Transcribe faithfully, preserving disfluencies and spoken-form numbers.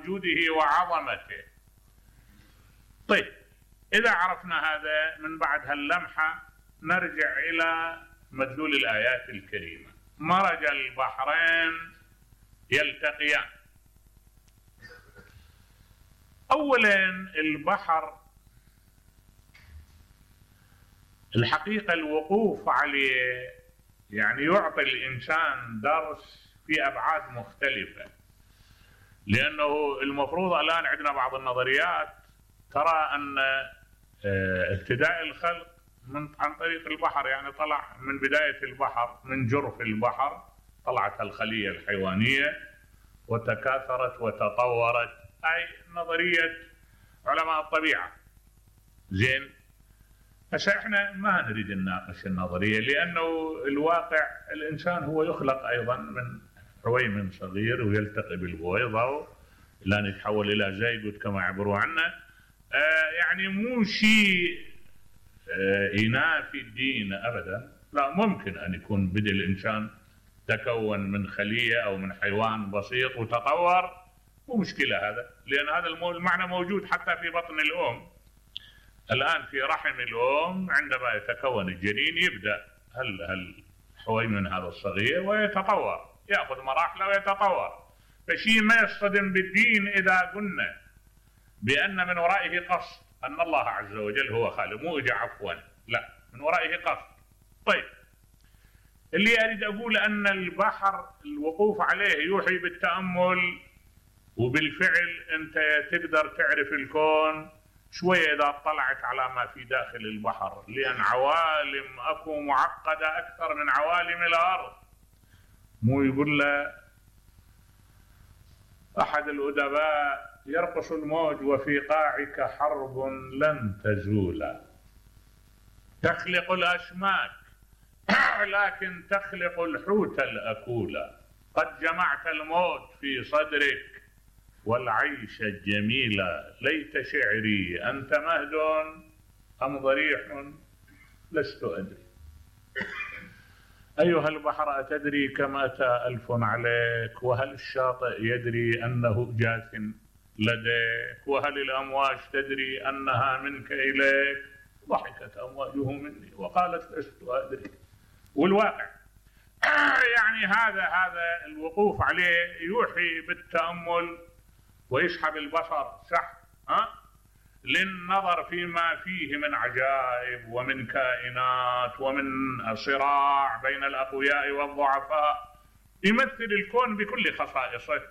وجوده وعظمته. طيب، إذا عرفنا هذا من بعد هاللمحة نرجع إلى مدلول الآيات الكريمة. مرج البحرين يلتقيان. أولا البحر الحقيقة الوقوف عليه يعني يعطي الإنسان درس في أبعاد مختلفة، لأنه المفروض الآن عندنا بعض النظريات ترى أن ابتداء الخلق من عن طريق البحر، يعني طلع من بداية البحر، من جرف البحر طلعت الخلية الحيوانية وتكاثرت وتطورت. هاي نظرية علماء الطبيعة. زين، هسه احنا ما نريد نناقش النظرية، لأنه الواقع الإنسان هو يخلق أيضا من حويمن صغير ويلتقي بالبويضة لأن يتحول إلى زيجوت كما عبروا عنه. آه يعني مو شيء آه ينافي الدين أبدا، لا، ممكن أن يكون بدء الإنسان تكون من خلية أو من حيوان بسيط وتطور، مو مشكلة هذا، لأن هذا المعنى موجود حتى في بطن الأم. الآن في رحم الأم عندما يتكون الجنين يبدأ هل هل حويمن هذا الصغير ويتطور، يأخذ مراحله ويتطور. فشيء ما يصطدم بالدين إذا قلنا بأن من ورائه قصد، أن الله عز وجل هو خالق، مو إجا عفوا، لا، من ورائه قصد. طيب، اللي أريد أقول أن البحر الوقوف عليه يوحي بالتأمل، وبالفعل أنت تقدر تعرف الكون شوية إذا اطلعت على ما في داخل البحر، لأن عوالم أكو معقدة أكثر من عوالم الأرض. مو يقول له أحد الأدباء يرقص الموج وفي قاعك حرب لن تزول، تخلق الأسماك لكن تخلق الحوت الأكول، قد جمعت الموت في صدرك والعيش الجميل، ليت شعري أنت مهد أم ضريح لست أدري. أيها البحر أتدري كم أتى ألف عليك، وهل الشاطئ يدري أنه جاث لديك، وهل الأمواج تدري أنها منك إليك، ضحكت أمواجه مني وقالت لست أدري. والواقع يعني هذا هذا الوقوف عليه يوحي بالتأمل ويسحب البصر صح ها للنظر فيما فيه من عجائب ومن كائنات ومن صراع بين الأقوياء والضعفاء. يمثل الكون بكل خصائصه.